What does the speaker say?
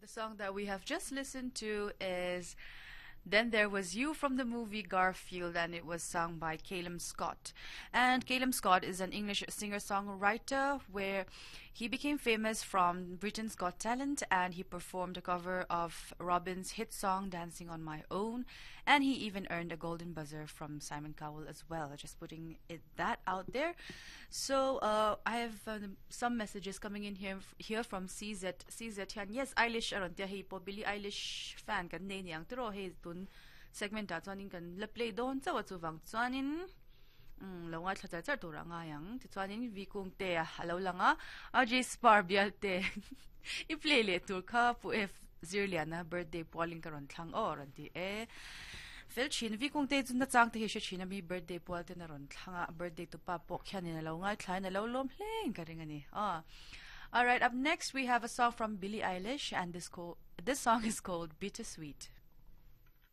The song that we have just listened to is Then There Was You from the movie Garfield, and it was sung by Calum Scott. And Calum Scott is an English singer-songwriter where he became famous from Britain's Got Talent, and he performed a cover of Robyn's hit song Dancing on My Own, and he even earned a golden buzzer from Simon Cowell as well. Just putting it that out there. So I have some messages coming in here here from CZ. CZ hian yes Eilish a rawn tia hei pawh Billie Eilish fan kan nei niang tiraw hei tun segment ah chuanin kan la play dawn chauh a chuvang chuanin umm lo ngaithla char char tur a ngai ang tichuanin V kung te a lo lang a RJ Spar bial te i play leh tur kha Pu F Zirliana birthday pualin ka rawn thlang aw a rawn ti e. Fel thin V kung te chu nachang te hi hre thin a mi birthday pual ten a rawn thlang a birthday tupa pawh khianin a lo ngaithlain a lo lawm hle in ka ring a ni. Aw. Alright, up next we have a song from Billie Eilish and this, this song is called Bittersweet.